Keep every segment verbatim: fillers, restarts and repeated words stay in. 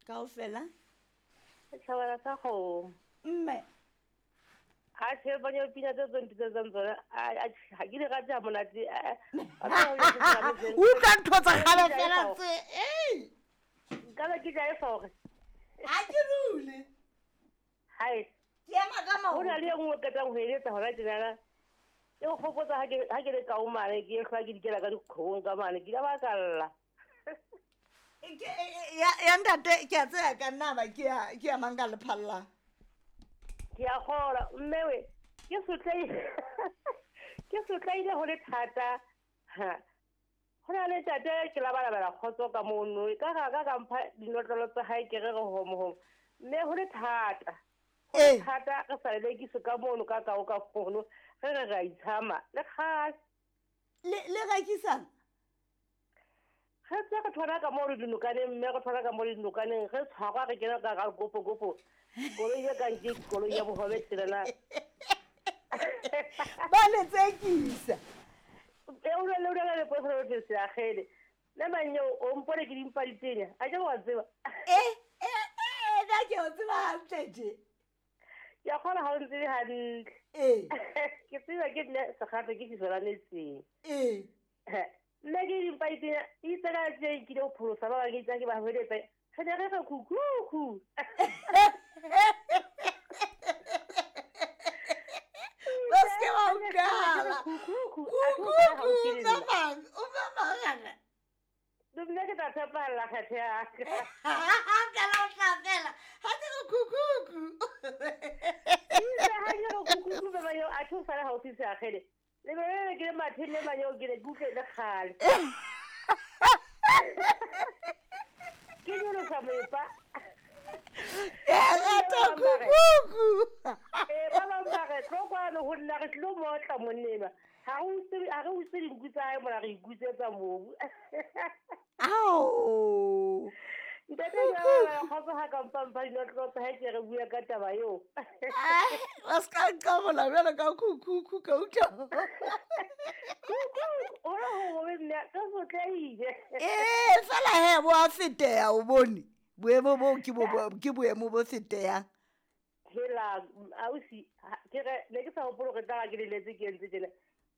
Kaofela. Setjhabana sa kgomo. Mme. Ha tjhe banya pina tse tsong tseng tsona a ha ke di rate ha monate. Utlwa ntho tsa kgale fela tse. Ei. Nka ba ke jae fore. Ha ke dule. Hai. Ke ema ka maoto. Ho na le e nngwe qetang ho eletsa hona tjenana. E nkgopotsa ha ke ha ke le kao mane ke hlwa ke dikela ka dikgong ka mane ke ka ba ka lla. Ke ya ya ntate ke a tsaya ka nna ba ke ya ke ya mang ka lephalla. Ke a kgola mme we ke sotleile ke sotleile ho le thata. Ha. Ho na le ntate ke labalabela kgotso ka mono ka ga ka ka mpha dinotlolo tsa hae ke re re homo homo. Mme ho le thata. Ho le thata re sa lelekiswe ka mono ka kao ka fono re re ra itshama le kgale. Le le rekisang? Re tse re thola ka mo re dinokaneng mme re thola ka mo re dinokaneng re tshwarwa re kena ka ga kopo kopo. Koloi e kang ke koloi ya bohobe tselana. Ba le tsekisa. E o le le le le le se agele. Le manyo o mpone ke dimpa ditenya. A ke wa tseba. Eh eh eh da ke o tseba hantle je. Ya kgona ha o ntse hantle. Eh. Ke tseba ke nne segato ke fisolane. Eh. Nna ke dimpa ditenya itse ka tse ke ile ho pholosa ba bang ke itse ke ba hweletsa. Re ne re re kuku. Ba se ba utlwala. Kuku. Kuku o mang o mang. Nna ke tla tshepahalla kgetho ya ka. Ka la tla fela. Ha ke re kuku. Itse ha ke re kuku ba ba yo a tho sala haufi se agele. Le be le ke le matheng le manyo ke le kutle le kgale. Ke nyolosa moepa. E rata kuku. Eh ba bang ba re tlo kwano ho nna re tlo motla monnema. Ha re utswe ha re utswe dinku tsa hae mona re ikutsetsa mobu. Ao. Ntate ke a kgotsa ha ka mpampa dinotlolo tsa hae ke re bua ka taba eo. Wa ska nqabola bjalo ka kuku ka utlwa. Kuku o re ho be nna ka sotleile. Eh fela he bo a feteha o bone. Boemo bo ke bo ke boemo bo fetehang. Hela ausi ke re ne ke sa hopole hore tla ke leletse ke entse tjena.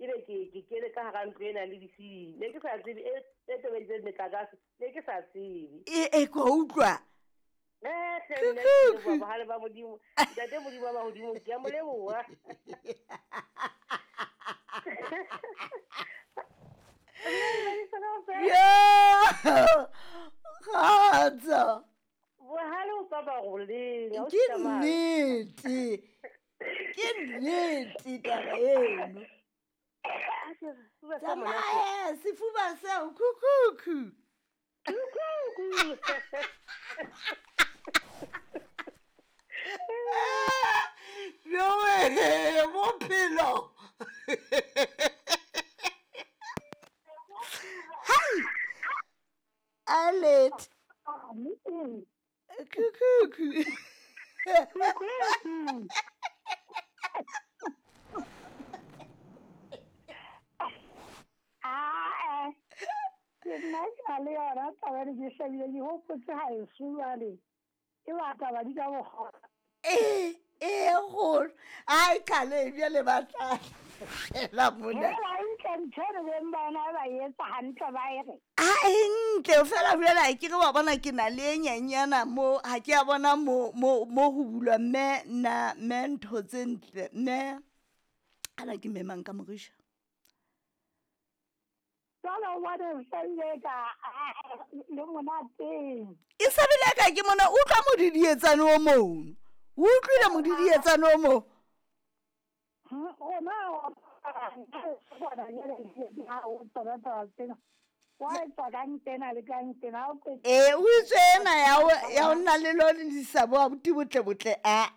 Ebe ke ke kene ka hara ntlo ena le disidi. Ne ke sa tsebe e e tobeditseng metlakase. Ne ke sa tsebe. E e ko utlwa. Eh hle nna ke leboha bohale ba Modimo. Ntate Modimo wa mahodimo ke a mo leboha. Yo! Kgotso. Bohale o ka ba roleng. Ke nnete. Ke nnete taba eno. Tsamaya sefuba seo kukuku. Kukuku. No eh bophelo. Hai. Alet. Kukuku. Kukuku. Ah, eh. Ke nna ke na le yona taba ena ke hlabile ke hopotse haeso jwale. E batla ba di ka bokgona. Eh, eh kgolo. Ai khale bjale ba tla. La mona. Hela ntle ntho re beng bona ba etsa hantle ba e re. Ah, e ntle fela bjale ke re wa bona ke na le e nyenyana mo ha ke a bona mo mo mo ho bulwa mme nna mme ntho tse ntle mme ana ke memang ka morisha. Jwale o bona e hlabile ka le monateng. E sebile ka ke mona utlwa modidietsane o mono. O utlwile modidietsane o mo. Rona Eh o itswe ena ya o ya o nna le lo lisa bo abuti botle botle a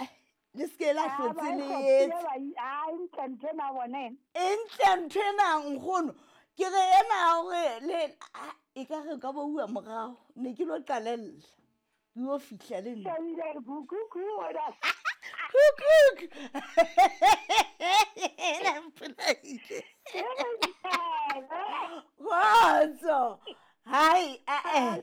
le ske la hlotse le etse. A ntle ntho ena bona ena. E ntle ntho ena nkgono. Ke re ena hore le e ka re ka bo bua morao ne ke lo qalella. Ke yo fihla le nna. Kuku. La mpolaile. Kgotso. Hai, eh eh.